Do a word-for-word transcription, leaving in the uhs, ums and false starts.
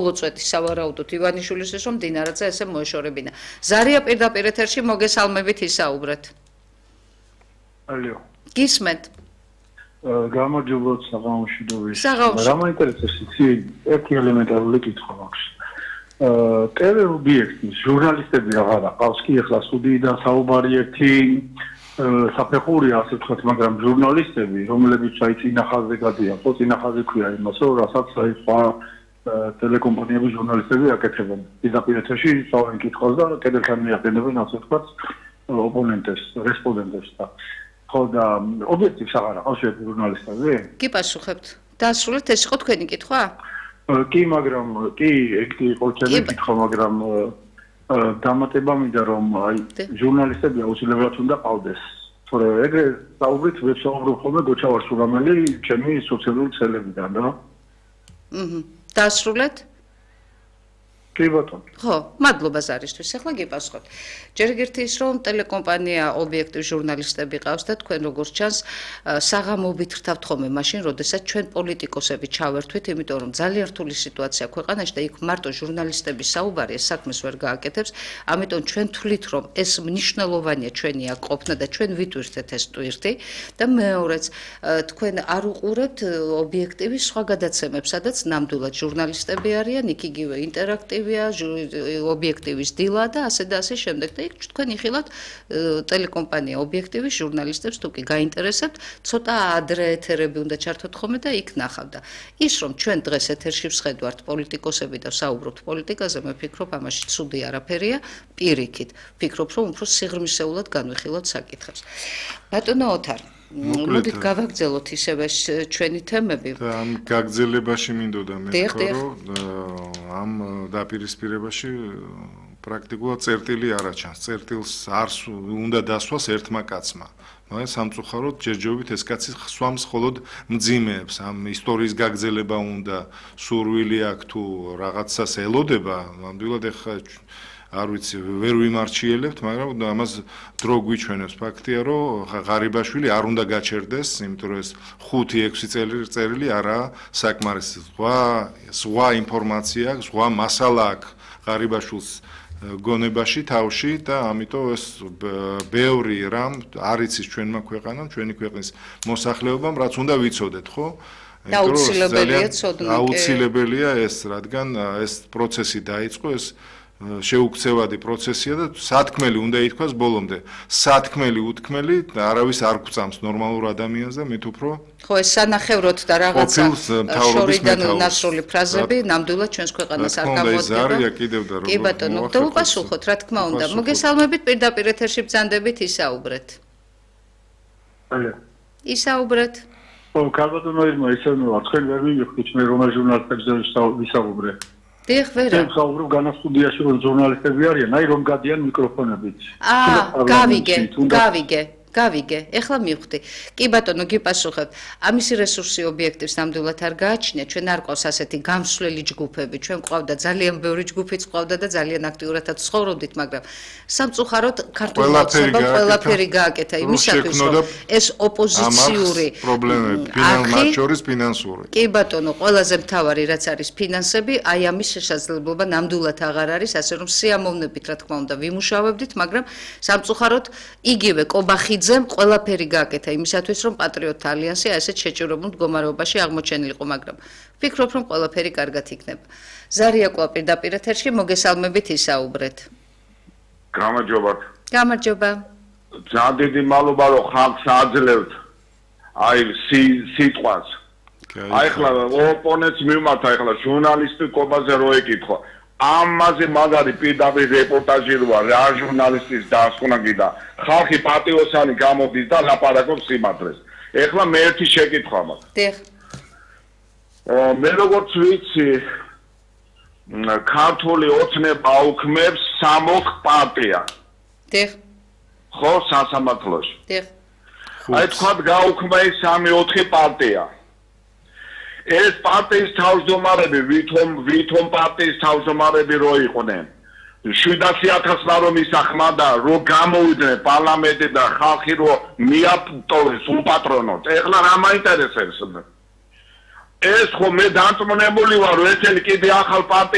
უწვეთი სავარაუდოდ ივანიშვილის რომ დინარაძე ესე მოეშორებინა. ზარია პირდაპირ ეთერში მოგესალმებით ისაუბრეთ. ალო. გისმენთ. გამარჯობა საღამოშიდობის. საღამოში. რა მაინტერესებს იცი ერთი ელემენტარული კითხვა მაქვს. ტელე ობიექტი ჟურნალისტები აღარ აყავს კი ახლა სტუდიიდან საუბარი ერთი საფეხურია ასე ვთქვათ, მაგრამ ჟურნალისტები რომლებიც აი წინახაზე გადიან, ხო წინახაზე ქვია იმას, რომ რასაც აი სხვა ტელეკომპანიების ჟურნალისტები აკეთებენ. პირდაპირ ეთერში სწავლენ კითხვას და კედელთან მიაყენებენ ასე ვთქვათ ოპონენტებს, რესპონდენტებს და ხო და ობიექტივს აღარ აყავს ჟურნალისტები? კი პასუხებთ. დაასრულეთ ეს იყო თქვენი კითხვა? კი, მაგრამ კი, ეგ იყო ჩემი კითხვა, მაგრამ დამატება მინდა რომ აი ჟურნალისტები აუცილებლად უნდა ყავდეს. თორე ეგრე საუბრით ვეცაუბრობ ხოლმე გოჩავარ სურამელი ჩემი სოციალური ცელებიდან რა. აჰა. დაასრულეთ? კი ბატონო. ხო, მადლობა ზარისთვის. ახლა გიპასუხოთ. ჯერ ერთი ის რომ ტელეკომპანია ობიექტივ ჟურნალისტები ყავს და თქვენ როგორც ჩანს საღამოობით ხრთავთ ხოლმე მაშინ, როდესაც ჩვენ პოლიტიკოსები ჩავერთვით, იმიტომ რომ ძალიან რთული სიტუაცია ქვეყანაში და იქ მარტო ჟურნალისტების საუბარი ეს საქმეს ვერ გააკეთებს, ამიტომ ჩვენ თვლით რომ ეს მნიშვნელოვანია ჩვენი აქ ყოფნა და ჩვენ ვიტვირთეთ ეს ტვირთი და მეორეც თქვენ არ უყურებთ ობიექტივის სხვა გადაცემებს, სადაც ნამდვილად ჟურნალისტები არიან, იქ იგივე ინტერაქტივია ობიექტივის დილა და ასე და ასე შემდეგ და იქ თქვენ იხილავთ ტელეკომპანია ობიექტივის ჟურნალისტებს თუ კი გაინტერესებთ ცოტა ადრე ეთერები უნდა ჩართოთ ხოლმე და იქ ნახავდა ის რომ ჩვენ დღეს ეთერში ვსხედვართ პოლიტიკოსები და ვსაუბრობთ პოლიტიკაზე მე ვფიქრობ ამაში ცუდი არაფერია პირიქით ვფიქრობ რომ უფრო სიღრმისეულად განვიხილოთ საკითხებს ბატონო ოთარ მოდით გავაგრძელოთ ისევე ჩვენი თემები და ამ გაგრძელებაში მინდოდა მე რომ ამ დაპირისპირებაში პრაქტიკულად წერტილი არ აჩანს წერტილს არ უნდა დასვას ერთმა კაცმა მაგრამ სამწუხაროდ ჯერჯერობით ეს კაცი სხვამს მხოლოდ მძიმეებს ამ ისტორიის გაგრძელება უნდა სურვილი აქვს თუ რაღაცას ელოდება ნამდვილად ეხლა არ ვიცი ვერ ვიმარჩიელებთ მაგრამ ამას დრო გვიჩვენებს ფაქტია რომ ღარიბაშვილი არ უნდა გაჩერდეს იმიტომ რომ ეს ხუთი ექვსი წერილი არაა საკმარისი სხვა სხვა ინფორმაცია აქვს სხვა მასალა აქვს ღარიბაშვილს გონებაში თავში და ამიტომ ეს ბევრი რამ არ იცის ჩვენმა ქვეყანამ ჩვენი ქვეყნის მოსახლეობამ რაც უნდა ვიცოდეთ ხო აუცილებელია ცოდნა აუცილებელია ეს რადგან ეს პროცესი დაიწყო ეს შეუქცევადი პროცესია და სათქმელი უნდა ითქვას ბოლომდე. სათქმელი უთქმელი არავის არ გვწამს ნორმალურ ადამიანს და მით უფრო ხო ეს სანახევროდ და რაღაცა შორიდან ნასროლი ფრაზები ნამდვილად ჩვენს ქვეყანას არ გამოდგება. კი ბატონო, და უპასუხოთ რა თქმა უნდა. მოგესალმებით პირდაპირ ეთერში ბრძანდებით ისაუბრეთ. ალო. ისაუბრეთ. ო, კარბატონო ირმა, ისე ნუ თქვენ ვერ მივიხდით მე რომელ ჟურნალისტებზე ვისაუბრე. დიახ, ვერა. ჩვენ ხავრობ განასტუდიაში რომ ჟურნალისტები არიან, აი რომ გადიან მიკროფონებით. აა, გავიგე, გავიგე. გავიგე, ეხლა მივხვდი. კი ბატონო, გიპასუხებთ. ამისი რესურსი ობიექტივს ნამდვილად არ გააჩნია. ჩვენ არ ყავს ასეთი გამსვლელი ჯგუფები. ჩვენ ყავდა ძალიან ბევრი ჯგუფიც ყავდა და ძალიან აქტიურადაც ცხოვრობდით, მაგრამ სამწუხაროდ ქართულ მოცემამ ყველაფერი გააკეთა იმისათვის, რომ ეს ოპოზიციური პრობლემები, მათ შორის ფინანსური. კი ბატონო, ყველაზე მთავარი რაც არის ფინანსები, აი ამის შესაძლებლობა ნამდვილად აღარ არის, ასე რომ სიამოვნებით რა თქმა უნდა ვიმუშავებდით, მაგრამ სამწუხაროდ იგივე კობახი ძემ ყველაფერი გააკეთა იმისათვის რომ პატრიოტთა ალიანსი ასეთ შეჭირებულ მდგომარეობაში აღმოჩენილიყო, მაგრამ ვფიქრობ რომ ყველაფერი კარგად იქნება. ზარია კვლავ პირდაპირ ეთერში მოგესალმებით ისაუბრეთ. გამარჯობა. გამარჯობა. ძალიან დიდი მადლობა რომ ხალხს აძლევთ აი სიტყვას. აი ხლა ოპონენტს მიმართა ახლა ჟურნალისტი კობაზე რო ეკითხა. ამაზე მაგარი პირდაპირ რეპორტაჟი როა რა ჟურნალისტის დასკვნა გიდა ხალხი პატიოსანი გამოდის და ლაპარაკობს სიმართლეს ეხლა მე ერთი შეკითხვა მაქვს დიახ მე როგორც ვიცი ქართული ოცნება უქმებს სამოქ პარტია დიახ ხო სასამართლოში დიახ აი თქვა გაუქმება ეს სამი ოთხი პარტია ეს პარტიის თავმჯდომარები ვითომ ვითომ პარტიის თავმჯდომარები რო იყვნენ შვიდასი ათასმა რომ ისახმა და რო გამოვიდნენ პარლამენტი და ხალხი რო მიაპტოვეს უპატრონოთ ეხლა რა მაინტერესებს ეს ხო მე დარწმუნებული ვარ რომ ეს კიდე ახალ პარტია